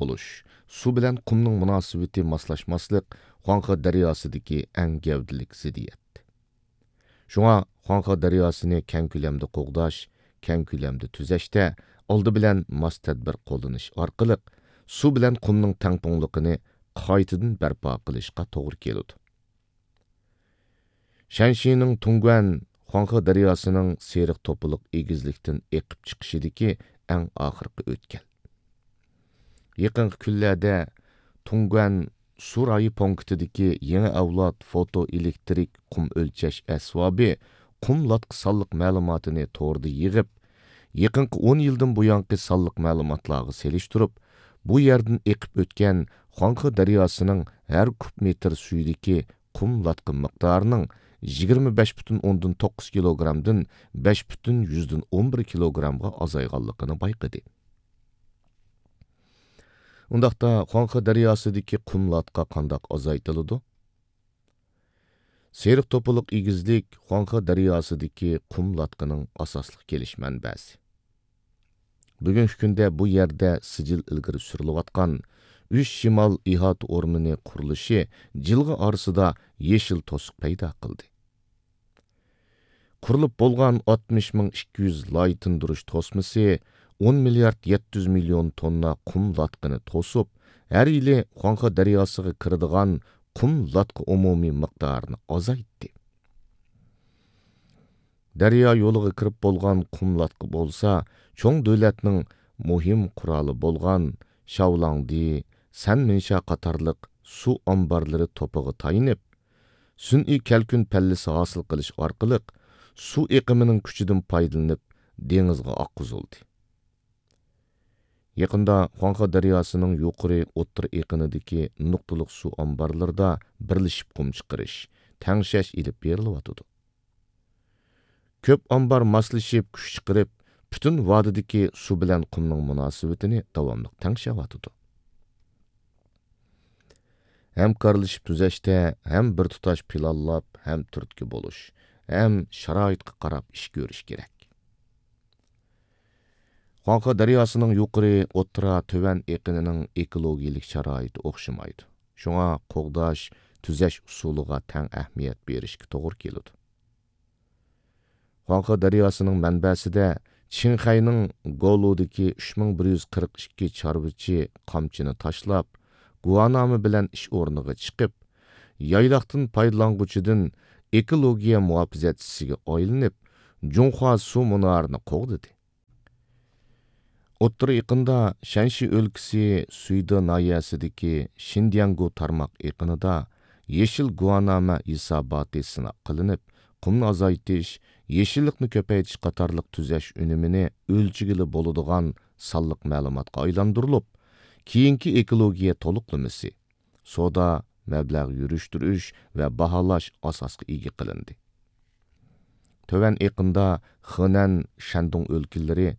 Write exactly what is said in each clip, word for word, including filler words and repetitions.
بولۇش، سۇ بىلەن قۇمنىڭ مۇناسىۋىتى ماسلاشماسلىق خۇاڭخې دەرياسىدىكى ئەڭ گەۋدىلىك زىددىيەت. شۇڭا خۇاڭخې دەرياسىنى كەڭ كۆلەمدە قوغداش، كەڭ كۆلەمدە تۈزەشتە ئالدى بىلەن ماس تەدبىر قوللىنىش ئارقىلىق سۇ بىلەن قۇمنىڭ تەڭپۇڭلۇقىنى قايتىدىن بەرپا قىلىشقا توغرا كېلىدۇ. شەنشىنىڭ تۇڭگۇەن خۇاڭخې دەرياسىنىڭ سېرىق توپىلىق ئېگىزلىكتىن ئېقىپ چىقىشىدىكى ئەڭ ئاخىرقى ئۆتكەل. يېقىنقى كۈنلەردە تۇڭگۇەن سۇ رايى پونكىتىدىكى يېڭى ئەۋلاد فوتو ئېلېكتىرىك قۇم ئۆلچەش ئەسۋابى قۇم لاتقا سانلىق مەلۇماتىنى توردا يىغىپ، يېقىنقى ئون يىلدىن بۇيانقى سانلىق مەلۇماتلارغا سېلىشتۇرۇپ، بۇ يەردىن ئېقىپ ئۆتكەن خۇاڭخې دەرياسىنىڭ ھەر كۇب مېتىر سۈيىدىكى قۇم لاتقا مىقدارىنىڭ يىگىرمە بەش پۈتۈن ئوندىن توققۇز كىلوگرامدىن بەش پۈتۈن يۈزدىن ئون بىر كىلوگرامغا ئازايغانلىقىنى بايقىدى. ئۇنداقتا خۇاڭخې دەرياسىدىكى قۇم لاتقا قانداق ئازايتىلىدۇ؟ سېرىق توپىلىق ئېگىزلىك خۇاڭخې دەرياسىدىكى قۇم لاتقىنىڭ ئاساسلىق كېلىش مەنبەسى. بۈگۈنكى كۈندە بۇ يەردە سىجىل ئىلگىرى سۈرۈلۈۋاتقان ئۈچ شىمال ئىھاتە ئورمىنى قۇرۇلۇشى جىلغا ئارىسىدا يېشىل توسۇق پەيدا قىلدى. قۇرۇلۇپ بولغان ئاتمىش مىڭ ئىككى يۈز لاي تىندۇرۇش توسمىسى ئون مىليارد يەتتە يۈز مىليون توننا قۇم لاتقىنى توسۇپ، ھەر يىلى خۇاڭخې دەرياسىغا كىرىدىغان قۇم لاتقا ئومۇمىي مىقدارىنى ئازايتتى. دەريا يولىغا كىرىپ بولغان قۇم لاتقا بولسا، چوڭ دۆلەتنىڭ مۇھىم قورالى بولغان شاۋلاڭدى، سەنمىنشا قاتارلىق سۇ ئامبارلىرى توپىغا تايىنىپ، سۈنئىي كەلكۈن پەللىسى ھاسىل قىلىش ئارقىلىق سۇ ئېقىمىنىڭ كۈچىدىن پايدىلىنىپ، دېڭىزغا ئاققۇزۇلدى. يېقىندا خۇاڭخې دەرياسىنىڭ يۇقىرى ئوتتۇرا ئېقىنىدىكى نۇقتىلىق سۇ ئامبارلىرىدا بىرلىشىپ قۇم چىقىرىش، تەڭشەش ئېلىپ بېرىلىۋاتىدۇ. كۆپ ئامبار ماسلىشىپ كۈچ چىقىرىپ، پۈتۈن ۋادىدىكى سۇ بىلەن قۇمنىڭ مۇناسىۋىتىنى داۋاملىق تەڭشەۋاتىدۇ. ھەمكارلىشىپ تۈزەشتە ھەم بىر تۇتاش پىلانلاپ، ھەم تۈرتكە بولۇش، ھەم شارائىتقا قاراپ ئىش كۆرۈش كېرەك. خۇاڭخې دەرياسىنىڭ يۇقىرى، ئوتتۇرا، تۆۋەن ئېقىنىنىڭ ئېكولوگىيەلىك شارائىتى ئوخشىمايدۇ. شۇڭا قوغداش، تۈزەش ئۇسۇلىغا تەڭ ئەھمىيەت بېرىشكە توغرا كېلىدۇ. خۇاڭخې دەرياسىنىڭ مەنبەسىدە چىڭخەينىڭ گولۇدىكى ئۈچ مىڭ بىر يۈز قىرىق ئىككى چارۋىچى قامچىنى تاشلاپ، گۇۋانامە بىلەن ئىش ئورنىغا چىقىپ، يايلاقتىن پايدىلانغۇچىدىن ئېكولوگىيە مۇھاپىزەتچىسىگە ئايلىنىپ، جۇڭخۇا سۇ مۇنارىنى قوغدىدى. ئوتتۇرا ئېقىندا شەنشى ئۆلكىسى سۈيدې ناھىيەسىدىكى شىندياڭگۇ تارماق ئېقىنىدا يېشىل گۇۋانامە ھېساباتى سىناق قىلىنىپ، قۇمنى ئازايتىش، يېشىللىقنى كۆپەيتىش قاتارلىق تۈزەش ئۈنۈمىنى ئۆلچىگىلى بولىدىغان سانلىق مەلۇماتقا ئايلاندۇرۇلۇپ، كېيىنكى ئېكولوگىيە تولۇقلىمىسى، سودا، مەبلەغ يۈرۈشتۈرۈش ۋە باھالاش ئاساسقا ئىگە قىلىندى. تۆۋەن ئېقىندا خېنەن، شەندۇڭ ئۆلكىلىرى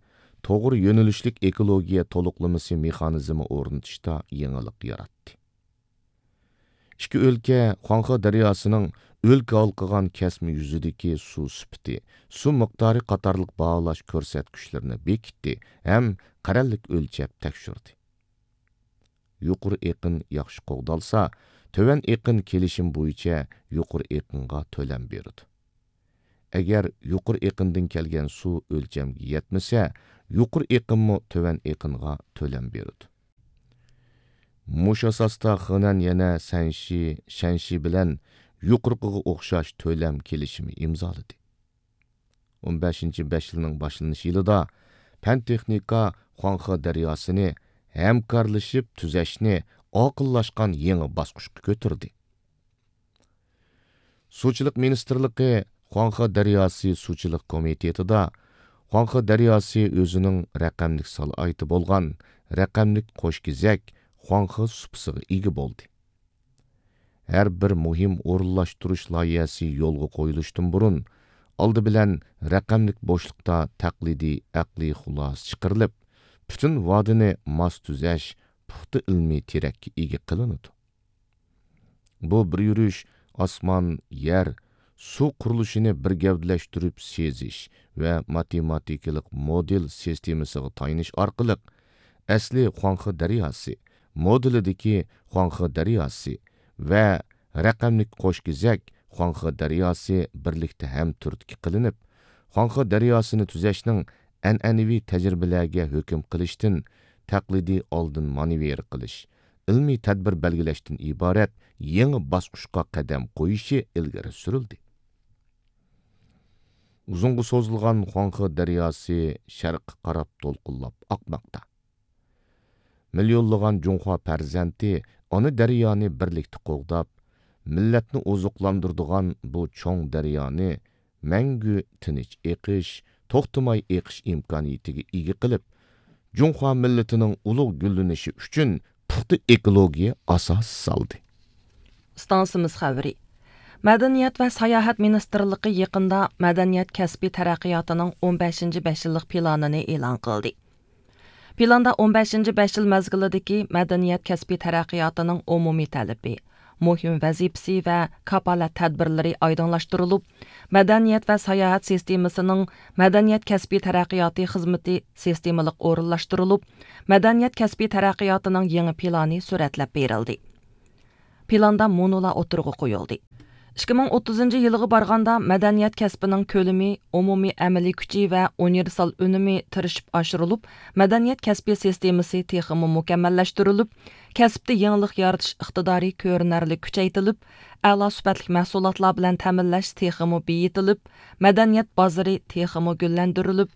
توغرا يۆنىلىشلىك ئېكولوگىيە تولۇقلىمىسى مېخانىزمى ئورنىتىشتا يېڭىلىق ياراتتى. ئىككى ئۆلكە خۇاڭخې دەرياسىنىڭ ئۆلكە ھالقىغان كەسمە يۈزىدىكى سۇ سۈپىتى، سۇ مىقدارى قاتارلىق باھالاش كۆرسەتكۈچلىرىنى بېكىتتى ھەم قەرەللىك ئۆلچەپ تەكشۈردى. يۇقىرى ئېقىن ياخشى قوغدالسا، تۆۋەن ئېقىن كېلىشىم بويىچە يۇقىرى ئېقىنغا تۆلەم بېرىدۇ. ئەگەر يۇقىرى ئېقىندىن كەلگەن سۇ ئۆلچەمگە يەتمىسە، يۇقىرى ئېقىنمۇ تۆۋەن ئېقىنغا تۆلەم بېرىدۇ. مۇشۇ ئاساستا خېنەن يەنە سەنشى، شەنشى بىلەن يۇقىرىقىغا ئوخشاش تۆلەم كېلىشىمى ئىمزالىدى. ئون بەشىنچى بەش يىلنىڭ باشلىنىش يىلىدا پەن تېخنىكا خۇاڭخې دەرياسىنى ھەمكارلىشىپ تۈزەشنى ئاقىللاشقان يېڭى باسقۇچقا كۆتۈردى. سۇچىلىق مىنىستىرلىقى خۇاڭخې دەرياسى سۇچىلىق كومىتېتىدا خۇاڭخې دەرياسى ئۆزىنىڭ رەقەملىك سالاھىيىتى بولغان رەقەملىك قوشكېزەك خۇاڭخې سۇپىسىغا ئىگە بولدى. ھەر بىر مۇھىم ئورۇنلاشتۇرۇش لايىھەسى يولغا قويۇلۇشتىن بۇرۇن، ئالدى بىلەن رەقەملىك بوشلۇقتا تەقلىدىي ئەقلىي خۇلاسە چىقىرىلىپ، پۈتۈن ۋادىنى ماس تۈزەش پۇختا ئىلمىي تىرەككە ئىگە قىلىنىدۇ. بۇ بىر يۈرۈش ئاسمان، يەر، سۇ قۇرۇلۇشىنى بىر گەۋدىلەشتۈرۈپ سېزىش ۋە ماتېماتىكىلىق مودېل سىستېمىسىغا تايىنىش ئارقىلىق، ئەسلى خۇاڭخې دەرياسى، مودېلىدىكى خۇاڭخې دەرياسى ۋە رەقەملىك قوش كېزەك خۇاڭخې دەرياسى بىرلىكتە ھەمتۈرتكە قىلىنىپ، خۇاڭخې دەرياسىنى تۈزەشنىڭ ئەنئەنىۋى تەجرىبىلەرگە ھۆكۈم قىلىشتىن تەقلىدىي ئالدىن مانېۋىر قىلىش، ئىلمىي تەدبىر بەلگىلەشتىن ئىبارەت يېڭى باسقۇچقا قەدەم قويۇشى ئىلگىرى سۈرۈلدى. ئۇزۇنغا سوزۇلغان خۇاڭخې دەرياسى شەرققە قاراپ دولقۇنلاپ ئاقماقتا. مىليونلىغان جۇڭخۇا پەرزەنتى ئانا دەريانى بىرلىكتە قوغداپ، مىللەتنى ئوزۇقلاندۇرىدىغان بۇ چوڭ دەريانى مەڭگۈ تىنچ ئېقىش، توختىماي ئېقىش ئىمكانىيىتىگە ئىگە قىلىپ، جۇڭخۇا مىللىتىنىڭ ئۇلۇغ گۈللىنىشى ئۈچۈن پۇختا ئېكولوگىيە ئاساسى سالدى. ئىستانسىمىز خەۋىرى. مەدەنىيەت ۋە ساياھەت مىنىستىرلىقى يېقىندا مەدەنىيەت كەسپى تەرەققىياتىنىڭ ئون بەشىنچى بەش يىللىق پىلانىنى ئېلان قىلدى. پىلاندا ئون بەشىنچى بەش يىل مەزگىلىدىكى مەدەنىيەت كەسپى تەرەققىياتىنىڭ ئومۇمىي تەلىپى، مۇھىم ۋەزىپىسى ۋە كاپالەت تەدبىرلىرى ئايدىڭلاشتۇرۇلۇپ، مەدەنىيەت ۋە ساياھەت سىستېمىسىنىڭ مەدەنىيەت كەسپىي تەرەققىياتى خىزمىتى سىستېمىلىق ئورۇنلاشتۇرۇلۇپ، مەدەنىيەت كەسپىي تەرەققىياتىنىڭ يېڭى پىلانى سۈرەتلەپ بېرىلدى. پىلاندا مۇنۇلار ئوتتۇرىغا قويۇلدى. ئىككى مىڭ ئوتتۇزىنچى يىلغا بارغاندا مەدەنىيەت كەسپىنىڭ كۆلىمى، ئومۇمىي ئەمەلىي كۈچى ۋە ئۇنىۋېرسال ئۈنۈمى تىرىشىپ ئاشۇرۇلۇپ، مەدەنىيەت كەسپى سىستېمىسى تېخىمۇ مۇكەممەللەشتۈرۈلۈپ، كەسىپتە يېڭىلىق يارىتىش ئىقتىدارى كۆرۈنەرلىك كۈچەيتىلىپ، ئەلا سۈپەتلىك مەھسۇلاتلار بىلەن تەمىنلەش تېخىمۇ بېيىتىلىپ، مەدەنىيەت بازىرى تېخىمۇ گۈللەندۈرۈلۈپ،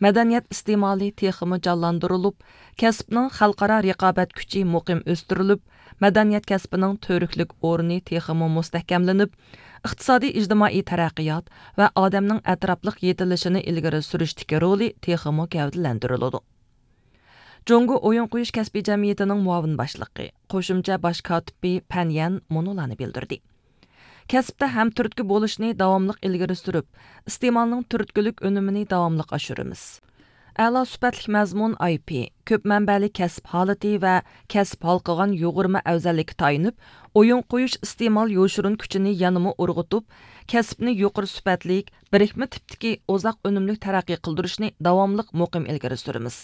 مەدەنىيەت ئىستېمالى تېخىمۇ جانلاندۇرۇلۇپ، كەسىپنىڭ خەلقئارا رىقابەت كۈچى مۇقىم ئۆستۈرۈلۈپ، مەدەنىيەت كەسپىنىڭ تۈۋرۈكلۈك ئورنى تېخىمۇ مۇستەھكەملىنىپ، ئىقتىسادىي ئىجتىمائىي تەرەققىيات ۋە ئادەمنىڭ ئەتراپلىق يېتىلىشىنى ئىلگىرى سۈرۈشتىكى رولى تېخىمۇ گەۋدىلەندۈرۈلىدۇ. جۇڭگو ئويۇن قويۇش كەسپىي جەمئىيىتىنىڭ مۇئاۋىن باشلىقى، قوشۇمچە باش كاتىپى پەن يەن مۇنۇلارنى بىلدۈردى. كەسىپتە ھەمتۈرتكە بولۇشنى داۋاملىق ئىلگىرى سۈرۈپ، ئىستېمالنىڭ تۈرتكىلىك ئۈنۈمىنى داۋاملىق ئاشۇرىمىز. ئەلا سۈپەتلىك مەزمۇن ئاي پى، كۆپ مەنبەلىك كەسىپ ھالىتى ۋە كەسىپ ھالقىغان يۇغۇرما ئەۋزەللىككە تايىنىپ، ئويۇن قويۇش ئىستېمال يوشۇرۇن كۈچىنى يەنىمۇ ئۇرغۇتۇپ، كەسىپنى يۇقىرى سۈپەتلىك، بىرىكمە تىپتىكى ئۇزاق ئۈنۈملۈك تەرەققىي قىلدۇرۇشنى داۋاملىق مۇقىم ئىلگىرى سۈرىمىز.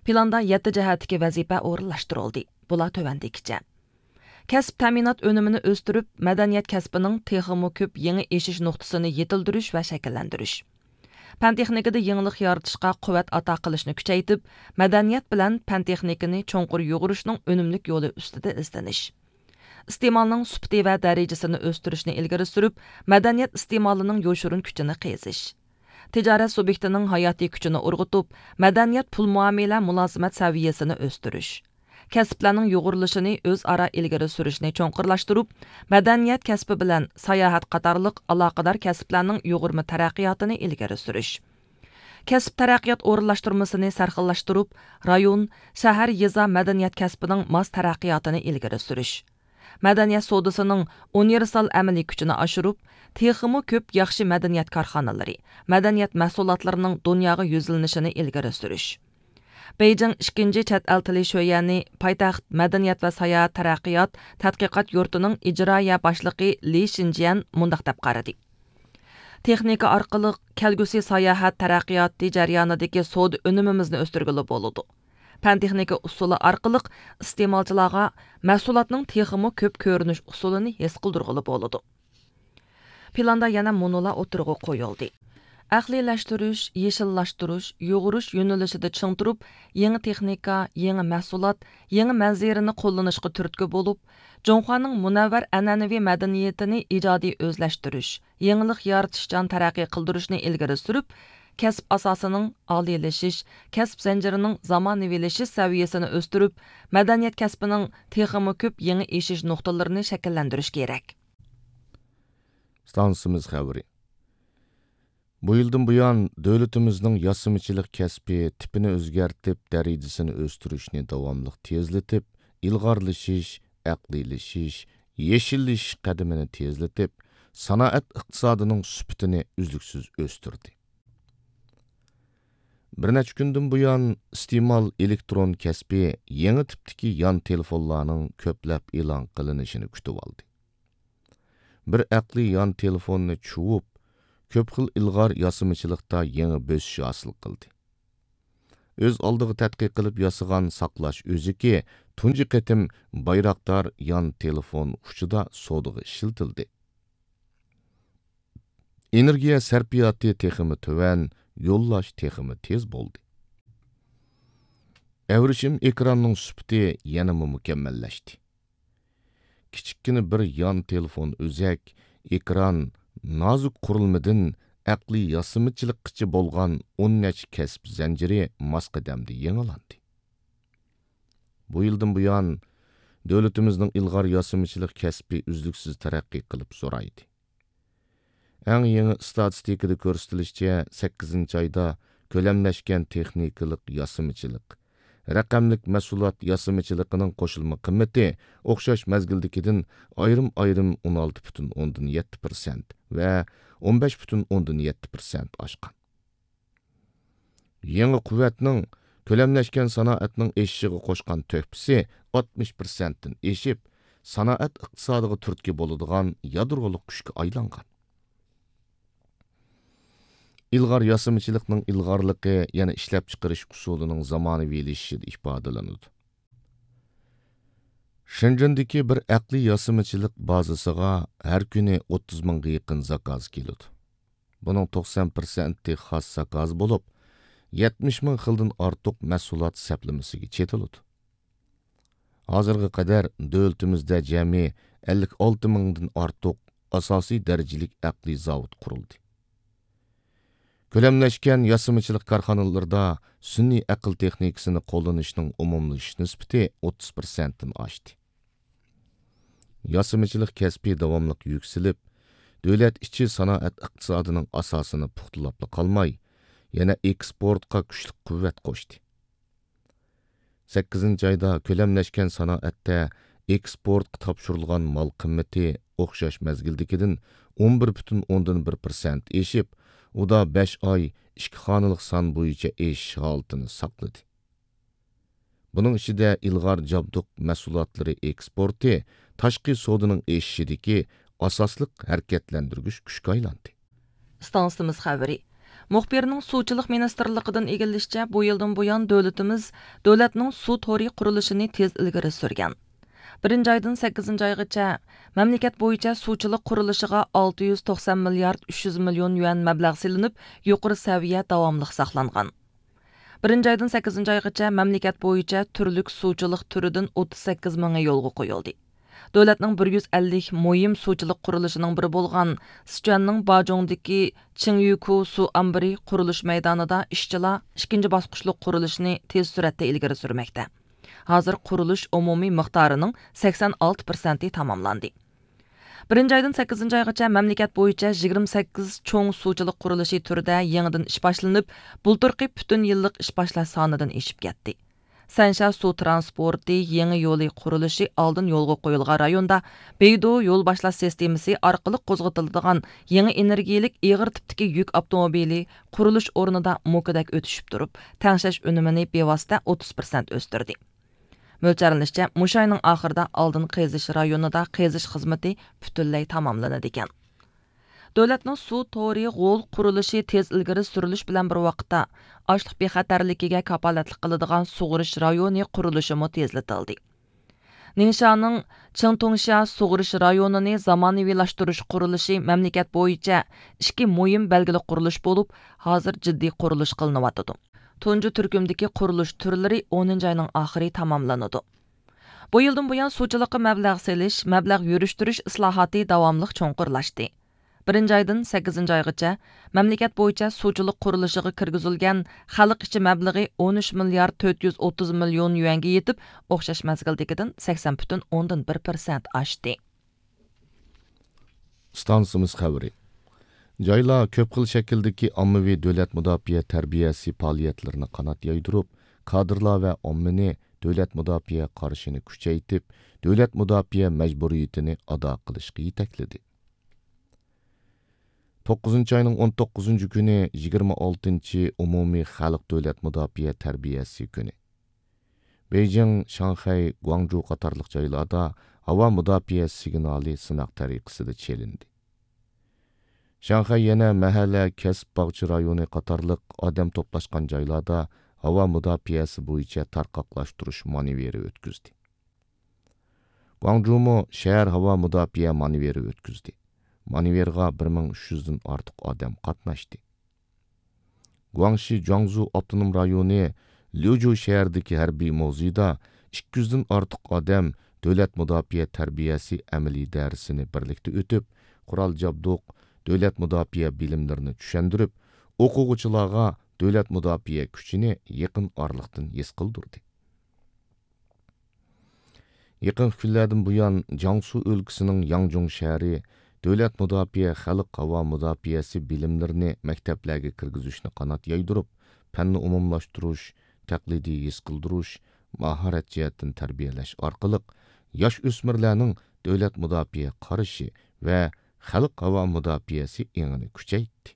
پىلاندا يەتتە جەھەتتىكى ۋەزىپە ئورۇنلاشتۇرۇلدى. بۇلار تۆۋەندىكىچە. كەسىپ تەمىنات ئۈنۈمىنى ئۆستۈرۈپ، مەدەنىيەت كەسپىنىڭ تېخىمۇ كۆپ يېڭى ئېشىش نۇقتىسىنى يېتىلدۈرۈش ۋە شەكىللەندۈرۈش. پەن تېخنىكىدا يېڭىلىق يارىتىشقا قۇۋۋەت ئاتا قىلىشنى كۈچەيتىپ، مەدەنىيەت بىلەن پەن تېخنىكىنى چوڭقۇر يۇغۇرۇشنىڭ ئۈنۈملۈك يولى ئۈستىدە ئىزدىنىش. ئىستېمالنىڭ سۈپىتى ۋە دەرىجىسىنى ئۆستۈرۈشنى ئىلگىرى سۈرۈپ، مەدەنىيەت ئىستېمالىنىڭ يوشۇرۇن كۈچىنى قېزىش. تىجارەت سۇبيېكتىنىڭ ھاياتىي كۈچىنى ئۇرغۇتۇپ، مەدەنىيەت پۇل مۇئامىلە مۇلازىمەت سەۋىيەسىنى ئۆستۈرۈش. كەسىپلەرنىڭ يۇغۇرۇلۇشىنى ئۆزئارا ئىلگىرى سۈرۈشنى چوڭقۇرلاشتۇرۇپ، مەدەنىيەت كەسپى بىلەن ساياھەت قاتارلىق ئالاقىدار كەسىپلەرنىڭ يۇغۇرما تەرەققىياتىنى ئىلگىرى سۈرۈش. كەسىپ تەرەققىيات ئورۇنلاشتۇرمىسىنى سەرخىللاشتۇرۇپ، رايون، شەھەر، يېزا مەدەنىيەت كەسپىنىڭ ماس تەرەققىياتىنى ئىلگىرى سۈرۈش. مەدەنىيەت سودىسىنىڭ ئۇنىۋېرسال ئەمەلىي كۈچىنى ئاشۇرۇپ، تېخىمۇ كۆپ ياخشى مەدەنىيەت كارخانىلىرى، مەدەنىيەت مەھسۇلاتلىرىنىڭ دۇنياغا يۈزلىنىشىنى ئىلگىرى سۈرۈش. بېيجىڭ ئىككىنچى چەت ئەل تىلى شۆيەنى پايتەخت مەدەنىيەت ۋە ساياھەت تەرەققىيات تەتقىقات يۇرتىنىڭ ئىجرائىيە باشلىقى لى شىنجيەن مۇنداق دەپ قارىدى: تېخنىكا ئارقىلىق كەلگۈسى ساياھەت تەرەققىياتى جەريانىدىكى سودا ئۈنۈمىمىزنى ئۆستۈرگىلى بولىدۇ. پەن تېخنىكا ئۇسۇلى ئارقىلىق ئىستېمالچىلارغا مەھسۇلاتنىڭ تېخىمۇ كۆپ كۆرۈنۈش ئۇسۇلىنى ھېس قىلدۇرغىلى بولىدۇ. پىلاندا يەنە مۇنۇلار ئوتتۇرىغا قويۇلدى: ئەقلىيلەشتۈرۈش، يېشىللاشتۇرۇش، يۇغۇرۇش يۆنىلىشىدە چىڭ تۇرۇپ، يېڭى تېخنىكا، يېڭى مەھسۇلات، يېڭى مەنزىرىنى قوللىنىشقا تۈرتكە بولۇپ، جۇڭخۇانىڭ مۇنەۋۋەر ئەنئەنىۋى مەدەنىيىتىنى ئىجادىي ئۆزلەشتۈرۈش، يېڭىلىق يارىتىشچان تەرەققىي قىلدۇرۇشنى ئىلگىرى سۈرۈپ، كەسىپ ئاساسىنىڭ ئالىيلىشىش، كەسىپ زەنجىرىنىڭ زامانىۋىلىشىش سەۋىيەسىنى ئۆستۈرۈپ، مەدەنىيەت كەسپىنىڭ تېخىمۇ كۆپ يېڭى ئېشىش نۇقتىلىرىنى شەكىللەندۈرۈش كېرەك. ئىستانسىمىز خەۋىرى. بۇ يىلدىن بۇيان، دۆلىتىمىزنىڭ ياسىمىچىلىق كەسپى تىپىنى ئۆزگەرتىپ، دەرىجىسىنى ئۆستۈرۈشنى داۋاملىق تېزلىتىپ، ئىلغارلىشىش، ئەقلىيلىشىش، يېشىللىشىش قەدىمىنى تېزلىتىپ، سانائەت ئىقتىسادىنىڭ سۈپىتىنى ئۈزلۈكسىز ئۆستۈردى. بىر نەچچە كۈندىن بۇيان، ئىستېمال ئېلېكترون كەسپى يېڭى تىپتىكى يان تېلېفونلارنىڭ كۆپلەپ ئېلان قىلىنىشىنى كۈتۈۋالدى. بىر ئەقلىي يان تېلېفوننى چۇۋۇپ، كۆپ خىل ئىلغار ياسىمىچىلىقتا يېڭى بۆسۈش ھاسىل قىلدى. ئۆز ئالدىغا تەتقىق قىلىپ ياسىغان ساقلاش ئۈزۈكى تۇنجى قېتىم بايراقدار يان تېلېفون ئۇچىدا سودىغا ئىشلىتىلدى. ئېنېرگىيە سەرپىياتى تېخىمۇ تۆۋەن، يوللاش تېخىمۇ تېز بولدى. ئەۋرىشىم ئېكراننىڭ سۈپىتى يەنىمۇ مۇكەممەللەشتى. كىچىككىنە بىر يان تېلېفون ئۆزەك، ئېكران، نازۇك قۇرۇلمىدىن ئەقلىي ياسىمىچىلىققىچە بولغان ئون نەچچە كەسىپ زەنجىرى ماس قەدەمدە يېڭىلاندى. بۇ يىلدىن بۇيان، دۆلىتىمىزنىڭ ئىلغار ياسىمىچىلىق كەسپى ئۈزلۈكسىز تەرەققىي قىلىپ زورايدى. ئەڭ يېڭى ئىستاتىستىكىدا كۆرسىتىلىشىچە، سەككىزىنچى ئايدا كۆلەملەشكەن تېخنىكىلىق ياسىمىچىلىق، رەقەملىك مەھسۇلات ياسىمىچىلىقىنىڭ قوشۇلما قىممىتى ئوخشاش مەزگىلدىكىدىن ئايرىم-ئايرىم ئون ئالتە پۈتۈن ئوندىن يەتتە پىرسەنت ۋە ئون بەش پۈتۈن ئوندىن يەتتە پىرسەنت ئاشقان. يېڭى قۇۋۋەتنىڭ كۆلەملەشكەن سانائەتنىڭ ئېشىشىغا قوشقان تۆھپىسى ئاتمىش پىرسەنتتىن ئېشىپ، سانائەت ئىقتىسادىغا تۈرتكە بولىدىغان يادرولۇق كۈچكە ئايلانغان. ئىلغار ياسىمىچىلىقنىڭ ئىلغارلىقى يەنە ئىشلەپچىقىرىش ئۇسۇلىنىڭ زامانىۋىلىشىشىدا ئىپادىلىنىدۇ. شېنجېندىكى بىر ئەقلىي ياسىمىچىلىق بازىسىغا ھەر كۈنى ئوتتۇز مىڭغا يېقىن زاكاز كېلىدۇ. بۇنىڭ توقسان پىرسەنتى خاس زاكاز بولۇپ، يەتمىش مىڭ خىلدىن ئارتۇق مەھسۇلات سەپلىمىسىگە چېتىلىدۇ. ھازىرغا قەدەر دۆلىتىمىزدە جەمئىي ئەللىك ئالتە مىڭدىن ئارتۇق ئاساسىي دەرىجىلىك ئەقلىي زاۋۇت قۇرۇلدى. كۆلەملەشكەن ياسىمىچىلىق كارخانىلىرىدا سۈنئىي ئەقىل تېخنىكىسىنى قوللىنىشنىڭ ئومۇملىشىش نىسبىتى ئوتتۇز پىرسەنتتىن ئاشتى. ياسىمىچىلىق كەسپى داۋاملىق يۈكسىلىپ، دۆلەت ئىچى سانائەت ئىقتىسادىنىڭ ئاساسىنى پۇختىلاپلا قالماي، يەنە ئېكسپورتقا كۈچلۈك قۇۋۋەت قوشتى. سەككىزىنچى ئايدا كۆلەملەشكەن سانائەتتە ئېكسپورتقا تاپشۇرۇلغان مال قىممىتى ئوخشاش مەزگىلدىكىدىن ئون بىر پۈتۈن ئوندىن بىر پىرسەنت ئېشىپ، ئۇدا بەش ئاي ئىككى خانىلىق سان بويىچە ئېشىش ھالىتىنى ساقلىدى. بۇنىڭ ئىچىدە ئىلغار جابدۇق مەھسۇلاتلىرى ئېكسپورتى تاشقى سودىنىڭ ئېشىشىدىكى ئاساسلىق ھەرىكەتلەندۈرگۈچ كۈچكە ئايلاندى. ئىستانسىمىز خەۋىرى. مۇخبىرنىڭ سۇچىلىق مىنىستىرلىقىدىن ئىگىلىشىچە، بۇ يىلدىن بۇيان دۆلىتىمىز دۆلەتنىڭ سۇ تورى قۇرۇلۇشىنى تېز ئىلگىرى سۈرگەن. بىرىنچى ئايدىن سەككىزىنچى ئايغىچە مەملىكەت بويىچە سۇچىلىق قۇرۇلۇشىغا ئالتە يۈز توقسان مىليارد ئۈچ يۈز مىليون يۈەن مەبلەغ سېلىنىپ، يۇقىرى سەۋىيە داۋاملىق ساقلانغان. بىرىنچى ئايدىن سەككىزىنچى ئايغىچە مەملىكەت بويىچە تۈرلۈك سۇچىلىق تۈرىدىن ئوتتۇز سەككىز مىڭى يولغا قويۇلدى. دۆلەتنىڭ بىر يۈز ئەللىك مۇھىم سۇچىلىق قۇرۇلۇشىنىڭ بىرى بولغان سىچۈەننىڭ باجۇڭدىكى چىڭيۈكۇ سۇ ئامبىرى قۇرۇلۇش مەيدانىدا ئىشچىلار ئىككىنچى باسقۇچلۇق قۇرۇلۇشنى تېز سۈرئەتتە ئىلگىرى سۈرمەكتە. ھازىر قۇرۇلۇش ئومۇمىي مىقدارىنىڭ سەكسەن ئالتە پىرسەنتى تاماملاندى. بىرىنچى ئايدىن سەككىزىنچى ئايغىچە مەملىكەت بويىچە يىگىرمە سەككىز چوڭ سۇچىلىق قۇرۇلۇشى تۈرىدە يېڭىدىن ئىش باشلىنىپ، بۇلتۇرقى پۈتۈن يىللىق ئىش باشلاش سانىدىن ئېشىپ كەتتى. سەنشيا سۇ ترانسپورتى يېڭى يولى قۇرۇلۇشى ئالدىن يولغا قويۇلغان رايوندا بېيدۇ يول باشلاش سىستېمىسى ئارقىلىق قوزغىتىلىدىغان يېڭى ئېنېرگىيەلىك ئېغىر تىپتىكى يۈك ئاپتوموبىلى قۇرۇلۇش ئورنىدا موكىدەك ئۆتۈشۈپ تۇرۇپ، تەڭشەش ئۈنۈمىنى بىۋاسىتە ئوتتۇز پىرسەنت ئۆستۈردى. مۆلچەرلىنىشىچە، مۇشۇ ئاينىڭ ئاخىرىدا ئالدىن قېزىش رايونىدا قېزىش خىزمىتى پۈتۈنلەي تاماملىنىدىكەن. دۆلەتنىڭ سۇ تورى غول قۇرۇلۇشى تېز ئىلگىرى سۈرۈلۈش بىلەن بىر ۋاقىتتا، ئاشلىق بىخەتەرلىكىگە كاپالەتلىك قىلىدىغان سۇغىرىش رايونى قۇرۇلۇشىمۇ تېزلىتىلدى. نىڭشيانىڭ چىڭتۇڭشيا سۇغىرىش رايونىنى زامانىۋىلاشتۇرۇش قۇرۇلۇشى مەملىكەت بويىچە ئىككى مۇھىم بەلگىلىك قۇرۇلۇش بولۇپ، ھازىر جىددىي قۇرۇلۇش قىلىنىۋاتىدۇ. تۇنجى تۈركۈمدىكى قۇرۇلۇش تۈرلىرى ئونىنچى ئاينىڭ ئاخىرى تاماملىنىدۇ. بۇ يىلدىن بۇيان سۇچىلىققا مەبلەغ سېلىش، مەبلەغ يۈرۈشتۈرۈش ئىسلاھاتى داۋاملىق چوڭقۇرلاشتى. بىرىنچى ئايدىن سەككىزىنچى ئايغىچە مەملىكەت بويىچە سۇچىلىق قۇرۇلۇشىغا كىرگۈزۈلگەن خەلق ئىچى مەبلىغى ئون ئۈچ مىليارد تۆت يۈز ئوتتۇز مىليون يۈەنگە يېتىپ، ئوخشاش مەزگىلدىكىدىن سەكسەن پۈتۈن ئوندىن بىر پىرسەنت ئاشتى. ئىستانسىمىز خەۋىرى. جايلار كۆپ خىل شەكىلدىكى ئاممىۋى دۆلەت مۇداپىئە تەربىيەسى پائالىيەتلىرىنى قانات يايدۇرۇپ، كادىرلار ۋە ئاممىنى دۆلەت مۇداپىئە قارىشىنى كۈچەيتىپ، دۆلەت مۇداپىئە مەجبۇرىيىتىنى ئادا قىلىشقا يېتەكلىدى. توققۇزىنچى ئاينىڭ ئون توققۇزىنچى كۈنى يىگىرمە ئالتىنچى ئومۇمىي خەلق دۆلەت مۇداپىئە تەربىيەسى كۈنى. بېيجىڭ، شاڭخەي، گۇاڭجۇ قاتارلىق جايلاردا ھاۋا مۇداپىئە سىگنالى سىناق تەرىقىسىدە چېلىندى. شاڭخەي يەنە مەھەللە، كەسىپ، باغچە رايونى قاتارلىق ئادەم توپلاشقان جايلاردا ھاۋا مۇداپىئەسى بويىچە تارقاقلاشتۇرۇش مانېۋىرى ئۆتكۈزدى. گۇاڭجۇمۇ شەھەر ھاۋا مۇداپىئە مانېۋىرى ئۆتكۈزدى. مانېۋىرغا بىر مىڭ ئۈچ يۈزدىن ئارتۇق ئادەم قاتناشتى. گۇاڭشى جۇاڭزۇ ئاپتونوم رايونى ليۇجۇ شەھىرىدىكى ھەربىي مۇزېيدا ئىككى يۈزدىن ئارتۇق ئادەم دۆلەت مۇداپىئە تەربىيەسى ئەمەلىي دەرسىنى بىرلىكتە ئۆتۈپ، قورال جابدۇق، دۆلەت مۇداپىئە بىلىملىرىنى چۈشەندۈرۈپ، ئوقۇغۇچىلارغا دۆلەت مۇداپىئە كۈچىنى يېقىن ئارىلىقتىن ھېس قىلدۇردى. يېقىنقى كۈنلەردىن بۇيان، جياڭسۇ ئۆلكىسىنىڭ ياڭجۇڭ شەھىرى دۆلەت مۇداپىئە، خەلق ھاۋا مۇداپىئەسى بىلىملىرىنى مەكتەپلەرگە كىرگۈزۈشنى قانات يايدۇرۇپ، پەننى ئومۇملاشتۇرۇش، تەقلىدىي ھېس قىلدۇرۇش، ماھارەت جەھەتتىن تەربىيەلەش ئارقىلىق ياش ئۆسمۈرلەرنىڭ دۆلەت مۇداپىئە قارىشى ۋە خەلق ھاۋا مۇداپىئەسى ئېڭىنى كۈچەيتتى.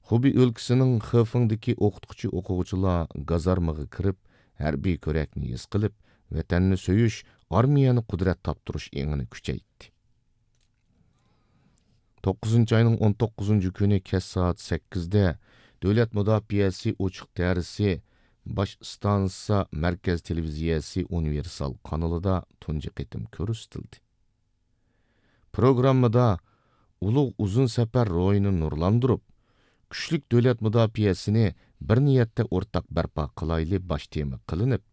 خۇبېي ئۆلكىسىنىڭ خېفېڭدىكى ئوقۇتقۇچى ئوقۇغۇچىلار گازارمىغا كىرىپ، ھەربىي كۆرەكنى ھېس قىلىپ، ۋەتەننى سۆيۈش، ئارمىيەنى قۇدرەت تاپتۇرۇش ئېڭىنى كۈچەيتتى. توققۇزىنچى ئاينىڭ ئون توققۇزىنچى كۈنى كەچ سائەت سەككىزدە دۆلەت مۇداپىئەسى ئوچۇق دەرسى باش ئىستانسا مەركەز تېلېۋىزىيەسى ئۇنىۋېرسال قانىلىدا تۇنجى قېتىم كۆرسىتىلدى. پروگراممىدا ئۇلۇغ ئۇزۇن سەپەر روھىنى نۇرلاندۇرۇپ، كۈچلۈك دۆلەت مۇداپىئەسىنى بىر نىيەتتە ئورتاق بەرپا قىلايلى باش تېما قىلىنىپ،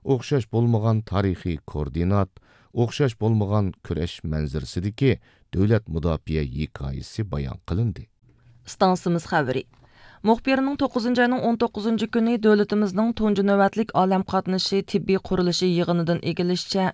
ئوخشاش بولمىغان تارىخىي كوئوردىنات، ئوخشاش بولمىغان كۈرەش مەنزىرىسىدىكى دۆلەت مۇداپىئە ھېكايىسى بايان قىلىندى. ئىستانسىمىز خەۋىرى. مۇخبىرنىڭ توققۇزىنچى ئاينىڭ ئون توققۇزىنچى كۈنى دۆلىتىمىزنىڭ تۇنجى نۆۋەتلىك ئالەم قاتنىشى تېببىي قۇرۇلۇشى يىغىنىدىن ئىگىلىشىچە،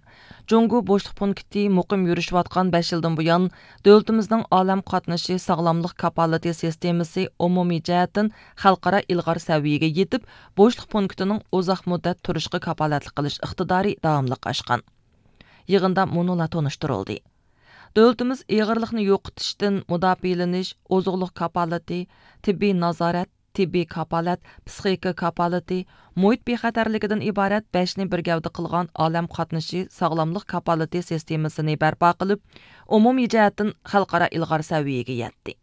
جۇڭگو بوشلۇق پونكىتى مۇقىم يۈرۈشۈۋاتقان بەش يىلدىن بۇيان، دۆلىتىمىزنىڭ ئالەم قاتنىشى ساغلاملىق كاپالىتى سىستېمىسى ئومۇمىي جەھەتتىن خەلقئارا ئىلغار سەۋىيەگە يېتىپ، بوشلۇق پونكىتىنىڭ ئۇزاق مۇددەت تۇرۇشقا كاپالەتلىك قىلىش ئىقتىدارى داۋاملىق ئاشقان. يىغىندا مۇنۇلار تونۇشتۇرۇلدى. دۆلىتىمىز ئېغىرلىقنى يوقىتىشتىن مۇداپىئەلىنىش، ئوزۇقلۇق كاپالىتى، تېببىي نازارەت، تېببىي كاپالەت، پىسخىكا كاپالىتى، مۇھىت بىخەتەرلىكىدىن ئىبارەت بەشنى بىر گەۋدە قىلغان ئالەم قاتنىشى ساغلاملىق كاپالىتى سىستېمىسىنى بەرپا قىلىپ، ئومۇمىي جەھەتتىن خەلقئارا ئىلغار سەۋىيەگە يەتتى.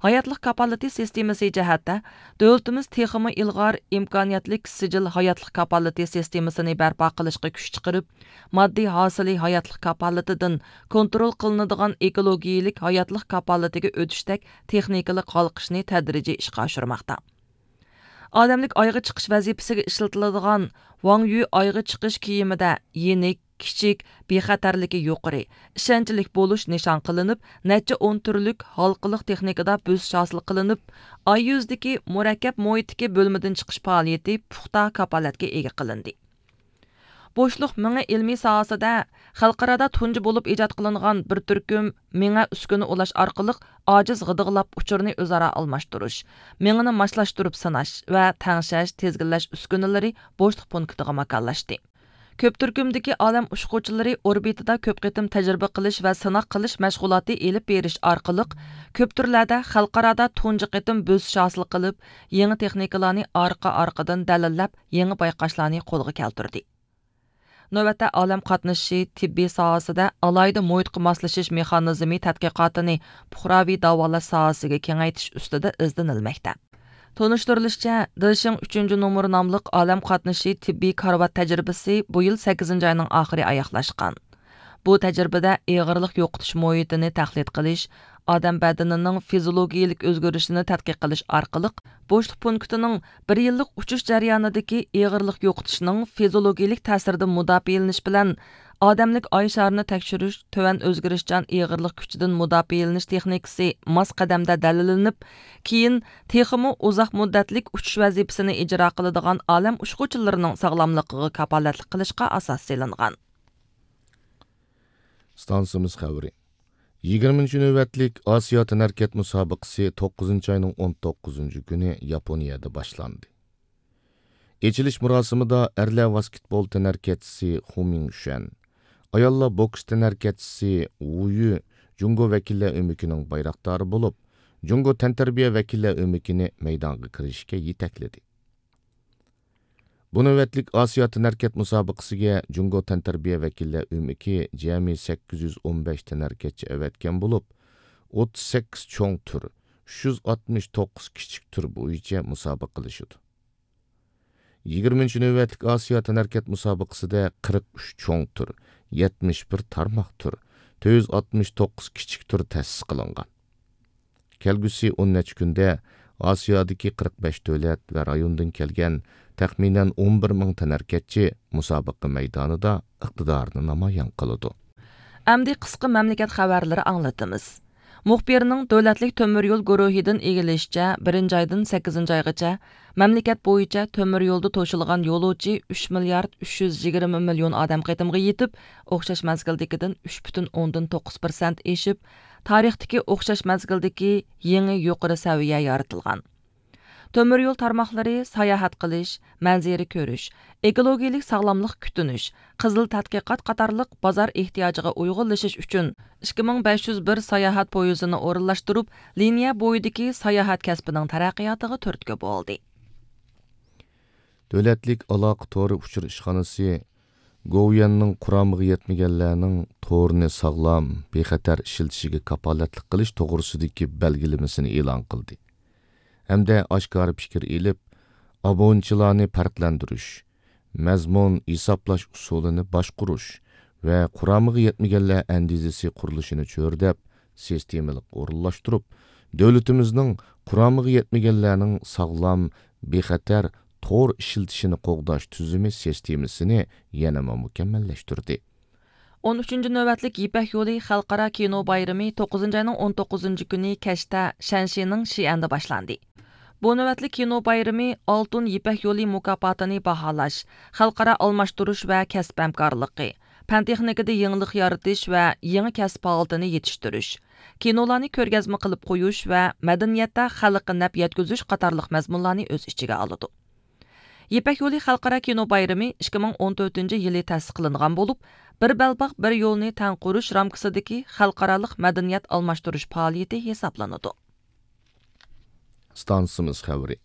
ھاياتلىق كاپالىتى سىستېمىسى جەھەتتە، دۆلىتىمىز تېخىمۇ ئىلغار، ئىمكانىيەتلىك سىجىل ھاياتلىق كاپالىتى سىستېمىسىنى بەرپا قىلىشقا كۈچ چىقىرىپ، ماددىي ھاسىلى ھاياتلىق كاپالىتىدىن كونترول قىلىنىدىغان ئېكولوگىيىلىك ھاياتلىق كاپالىتىگە ئۆتۈشتەك تېخنىكىلىق ھالقىشنى تەدرىجىي ئىشقا ئاشۇرماقتا. ئادەملىك ئايغا چىقىش ۋەزىپىسىگە ئىشلىتىلىدىغان ۋاڭ يۈ ئايغا چىقىش كىيىمىدە يېنىك، كىچىك، بىخەتەرلىكى يۇقىرى، ئىشەنچلىك بولۇش نىشان قىلىنىپ، نەچچە ئون تۈرلۈك ھالقىلىق تېخنىكىدا بۆسۈش ھاسىل قىلىنىپ، ئاي يۈزىدىكى مۇرەككەپ مۇھىتتىكى بۆلمىدىن چىقىش پائالىيىتى پۇختا كاپالەتكە ئىگە قىلىندى. بوشلۇق مېڭە ئىلمىي ساھەسىدە خەلقئارادا تۇنجى بولۇپ ئىجاد قىلىنغان بىر تۈركۈم مېڭە ئۈسكۈنە ئۇلاش ئارقىلىق ئاجىز غىدىقلاپ ئۇچۇرنى ئۆزئارا ئالماشتۇرۇش، مېڭىنى ماسلاشتۇرۇپ سىناش ۋە تەڭشەش، تىزگىنلەش ئۈسكۈنىلىرى بوشلۇق پونكىتىغا ماكانلاشتى. كۆپ تۈركۈمدىكى ئالەم ئۇچقۇچىلىرى ئوربىتىدا كۆپ قېتىم تەجرىبە قىلىش ۋە سىناق قىلىش مەشغۇلاتى ئېلىپ بېرىش ئارقىلىق، كۆپ تۈرلەردە خەلقئارادا تۇنجى قېتىم بۆسۈش ھاسىل قىلىپ، يېڭى تېخنىكىلارنى ئارقا-ئارقىدىن دەلىللەپ، يېڭى بايقاشلارنى قولغا كەلتۈردى. نۆۋەتتە ئالەم قاتنىشى تېببىي ساھەسىدە ئالاھىدە مۇھىتقا ماسلىشىش مېخانىزمى تەتقىقاتىنى پۇقراۋى داۋالاش ساھەسىگە كېڭەيتىش ئۈستىدە ئىزدىنىلمەكتە. تونۇشتۇرۇلۇشىچە، دېشىڭ ئۈچىنچى نومۇر ناملىق ئالەم قاتنىشى تېببىي كارىۋات تەجرىبىسى بۇ يىل سەككىزىنچى ئاينىڭ ئاخىرى ئاياغلاشقان. بۇ تەجرىبىدە ئېغىرلىق يوقىتىش مۇھىتىنى تەقلىد قىلىش، ئادەم بەدىنىنىڭ فىزىولوگىيىلىك ئۆزگىرىشىنى تەتقىق قىلىش ئارقىلىق، بوشلۇق پونكىتىنىڭ بىر يىللىق ئۇچۇش جەريانىدىكى ئېغىرلىق يوقىتىشنىڭ فىزىولوگىيىلىك تەسىرىدىن مۇداپىئەلىنىش بىلەن ئادەملىك ئاي شارىنى تەكشۈرۈش تۆۋەن ئۆزگىرىشچان ئېغىرلىق كۈچىدىن مۇداپىئەلىنىش تېخنىكىسى ماس قەدەمدە دەلىللىنىپ، كېيىن تېخىمۇ ئۇزاق مۇددەتلىك ئۇچۇش ۋەزىپىسىنى ئىجرا قىلىدىغان ئالەم ئۇچقۇچىلىرىنىڭ ساغلاملىقىغا كاپالەتلىك قىلىشقا ئاساس سېلىنغان. ئىستانسىمىز خەۋىرى. يىگىرمىنچى نۆۋەتلىك ئاسىيا تەنھەرىكەت مۇسابىقىسى توققۇزىنچى ئاينىڭ ئون توققۇزىنچى كۈنى ياپونىيەدە باشلاندى. ئېچىلىش مۇراسىمىدا ئەرلەر ۋاسكېتبول تەنھەرىكەتچىسى خۇ مىڭشۈەن، ئاياللار بوكس تەنھەرىكەتچىسى ۋۇ يۈ جۇڭگو ۋەكىللەر ئۆمىكىنىڭ بايراقدارى بولۇپ، جۇڭگو تەنتەربىيە ۋەكىللەر ئۆمىكىنى مەيدانغا كىرىشكە يېتەكلىدى. بۇ نۆۋەتلىك ئاسىيا تەنھەرىكەت مۇسابىقىسىگە جۇڭگو تەنتەربىيە ۋەكىللەر ئۆمىكى جەمئىي سەككىز يۈز ئون بەش تەنھەرىكەتچى ئەۋەتكەن بولۇپ، ئوتتۇز سەككىز چوڭ تۈر، ئۈچ يۈز ئاتمىش توققۇز كىچىك تۈر بويىچە مۇسابىقىلىشىدۇ. يىگىرمىنچى نۆۋەتلىك ئاسىيا تەنھەرىكەت مۇسابىقىسىدە قىرىق ئۈچ چوڭ تۈر، يەتمىش بىر تارماق تۈر، تۆت يۈز ئاتمىش توققۇز كىچىك تۈر تەسىس قىلىنغان. كەلگۈسى ئون نەچچە كۈندە ئاسىيادىكى قىرىق بەش دۆلەت ۋە رايوندىن كەلگەن تەخمىنەن ئون بىر مىڭ تەنھەرىكەتچى مۇسابىقە مەيدانىدا ئىقتىدارىنى نامايان قىلىدۇ. ئەمدى قىسقا مەملىكەت خەۋەرلىرى ئاڭلىتىمىز. مۇخبىرنىڭ دۆلەتلىك تۆمۈر يول گۇرۇھىدىن ئىگىلىشىچە، بىرىنچى ئايدىن سەككىزىنچى ئايغىچە مەملىكەت بويىچە تۆمۈر يولدا توشۇلغان يولۇچى ئۈچ مىليارد ئۈچ يۈز يىگىرمە مىليون ئادەم قېتىمغا يېتىپ، ئوخشاش مەزگىلدىكىدىن ئۈچ پۈتۈن ئوندىن توققۇز پىرسەنت ئېشىپ، تارىختىكى ئوخشاش مەزگىلدىكى يېڭى يۇقىرى سەۋىيە يارىتىلغان. تۆمۈر يول تارماقلىرى ساياھەت قىلىش، مەنزىرە كۆرۈش، ئېكولوگىيەلىك ساغلاملىق كۈتۈنۈش، قىزىل تەتقىقات قاتارلىق بازار ئېھتىياجىغا ئۇيغۇنلىشىش ئۈچۈن ئىككى مىڭ بەش يۈز بىر ساياھەت پويىزىنى ئورۇنلاشتۇرۇپ، لىنىيە بويىدىكى ساياھەت كەسپىنىڭ تەرەققىياتىغا تۈرتكە بولدى. دۆلەتلىك ئالاقە تورى ئۇچۇر ئىشخانىسى گوۋۇيۈەننىڭ قۇرامىغا يەتمىگەنلەرنىڭ تورنى ساغلام، بىخەتەر ئىشلىتىشىگە كاپالەتلىك قىلىش توغرىسىدىكى بەلگىلىمىسىنى ئېلان قىلدى ھەمدە ئاشكارا پىكىر ئېلىپ، ئابۇنىچىلارنى پەرقلەندۈرۈش، مەزمۇن ھېسابلاش ئۇسۇلىنى باشقۇرۇش ۋە قۇرامىغا يەتمىگەنلەر ئەندىزىسى قۇرۇلۇشىنى چۆرىدەپ، سىستېمىلىق ئورۇنلاشتۇرۇپ، دۆلىتىمىزنىڭ قۇرامىغا يەتمىگەنلەرنىڭ ساغلام، بىخەتەر تور ئىشلىتىشىنى قوغداش تۈزۈمى سىستېمىسىنى يەنىمۇ مۇكەممەللەشتۈردى. ئون ئۈچىنچى نۆۋەتلىك يىپەك يولى خەلقئارا كىنو بايرىمى توققۇزىنچى ئاينىڭ ئون توققۇزىنچى كۈنى كەچتە شەنشىنىڭ شىئەندە باشلاندى. بۇ نۆۋەتلىك كىنو بايرىمى ئالتۇن يىپەك يولى مۇكاپاتىنى باھالاش، خەلقئارا ئالماشتۇرۇش ۋە كەسىپ ھەمكارلىقى، پەن تېخنىكىدا يېڭىلىق يارىتىش ۋە يېڭى كەسىپ ھالىتىنى يېتىشتۈرۈش، كىنولارنى كۆرگەزمە قىلىپ قويۇش ۋە مەدەنىيەتتە خەلققە نەپ يەتكۈزۈش قاتارلىق مەزمۇنلارنى ئۆز ئىچىگە ئالىدۇ. يىپەك يولى خەلقئارا كىنو بايرىمى ئىككى مىڭ ئون تۆتىنچى يىلى تەسىس قىلىنغان بولۇپ، بىر بەلباغ، بىر يولنى تەڭ قۇرۇش رامكىسىدىكى خەلقئارالىق مەدەنىيەت ئالماشتۇرۇش پائالىيىتى ھېسابلىنىدۇ. ئىستانسىمىز خەۋىرى.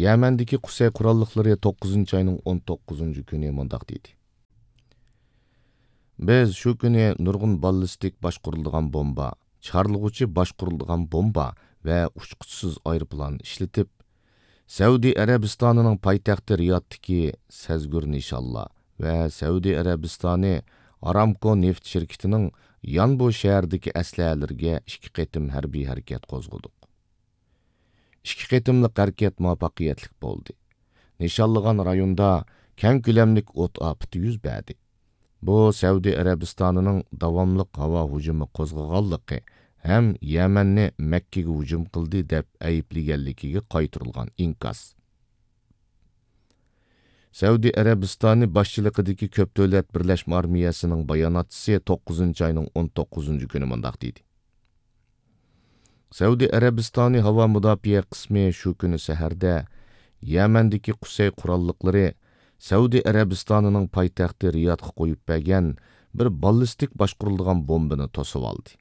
يەمەندىكى قۇسەي قوراللىقلىرى توققۇزىنچى ئاينىڭ ئون توققۇزىنچى كۈنى مۇنداق دېدى: بىز شۇ كۈنى نۇرغۇن باللىستىك باشقۇرۇلىدىغان بومبا، چارلىغۇچى باشقۇرۇلىدىغان بومبا ۋە ئۇچقۇچىسىز ئايروپىلان ئىشلىتىپ، سەئۇدى ئەرەبىستانىنىڭ پايتەختى رىيادتىكى سەزگۈر نىشانلار ۋە سەئۇدى ئەرەبىستانى ئارامكو نېفىت شىركىتىنىڭ يانبۇ شەھىرىدىكى ئەسلىھەلىرىگە ئىككى قېتىم ھەربىي ھەرىكەت قوزغىدۇق. ئىككى قېتىملىق ھەرىكەت مۇۋەپپەقىيەتلىك بولدى. نىشانلىغان رايوندا كەڭ كۆلەملىك ئوت ئاپىتى يۈز بەردى. بۇ سەئۇدى ئەرەبىستانىنىڭ داۋاملىق ھاۋا ھۇجۇمى قوزغىغانلىقى ھەم يەمەننى مەككىگە ھۇجۇم قىلدى دەپ ئەيىبلىگەنلىكىگە قايتۇرۇلغان ئىنكاس. سەئۇدى ئەرەبىستانى باشچىلىقىدىكى كۆپ دۆلەت بىرلەشمە ئارمىيەسىنىڭ باياناتچىسى توققۇزىنچى ئاينىڭ ئون توققۇزىنچى كۈنى مۇنداق دېدى: سەئۇدى ئەرەبىستانى ھاۋا مۇداپىئە قىسمى شۇ كۈنى سەھەردە يەمەندىكى قۇسەي قوراللىقلىرى سەئۇدى ئەرەبىستانىنىڭ پايتەختى رىيادقا قويۇپ بەرگەن بىر باللىستىك باشقۇرۇلىدىغان بومبىنى توسۇۋالدى.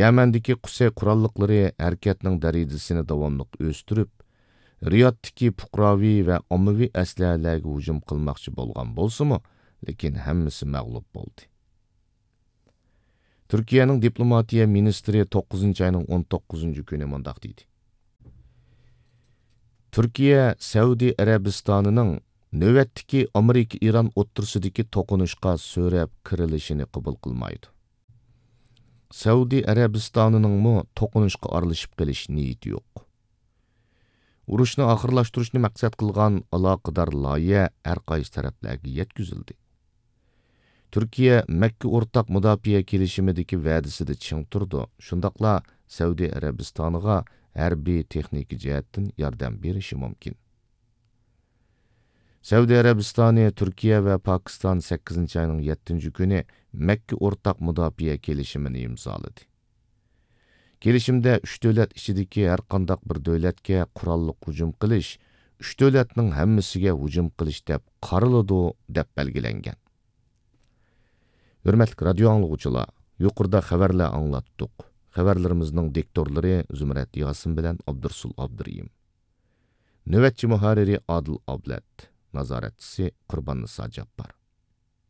يەمەندىكى قۇسەي قوراللىقلىرى ھەرىكەتنىڭ دەرىجىسىنى داۋاملىق ئۆستۈرۈپ، رىيادتىكى پۇقراۋى ۋە ئاممىۋى ئەسلىھەلەرگە ھۇجۇم قىلماقچى بولغان بولسىمۇ، لېكىن ھەممىسى مەغلۇپ بولدى. تۈركىيەنىڭ دىپلوماتىيە مىنىستىرى توققۇزىنچى ئاينىڭ ئون توققۇزىنچى كۈنى مۇنداق دېدى: تۈركىيە سەئۇدى ئەرەبىستانىنىڭ نۆۋەتتىكى ئامېرىكا ئىران ئوتتۇرىسىدىكى توقۇنۇشقا سۆرەپ كىرىلىشىنى قوبۇل قىلمايدۇ. سەئۇدى ئەرەبىستانىنىڭمۇ توقۇنۇشقا ئارىلىشىپ قېلىش نىيىتى يوق. ئۇرۇشنى ئاخىرلاشتۇرۇشنى مەقسەت قىلغان ئالاقىدار لايىھە ھەر قايسى تەرەپلەرگە يەتكۈزۈلدى. تۈركىيە مەككە ئورتاق مۇداپىئە كېلىشىمىدىكى ۋەدىسىدە چىڭ تۇرىدۇ، شۇنداقلا سەئۇدى ئەرەبىستانىغا ھەربىي تېخنىكا جەھەتتىن ياردەم بېرىشى مۇمكىن. سەئۇدى ئەرەبىستانى، تۈركىيە ۋە پاكىستان سەككىزىنچى ئاينىڭ يەتتىنچى كۈنى مەككە ئورتاق مۇداپىئە كېلىشىمىنى ئىمزالىدى. كېلىشىمدە ئۈچ دۆلەت ئىچىدىكى ھەرقانداق بىر دۆلەتكە قوراللىق ھۇجۇم قىلىش ئۈچ دۆلەتنىڭ ھەممىسىگە ھۇجۇم قىلىش دەپ قارىلىدۇ، دەپ بەلگىلەنگەن. ھۆرمەتلىك رادىيو ئاڭلىغۇچىلار، يۇقىرىدا خەۋەرلەر ئاڭلاتتۇق. خەۋەرلىرىمىزنىڭ دىكتورلىرى زۇمرەت ياسىن بىلەن ئابدۇرسۇل ئابدۇرېھىم. نۆۋەتچى مۇھەررىرى ئادىل ئابلەت، نازارەتچىسى قۇرباننىسا جاپپار.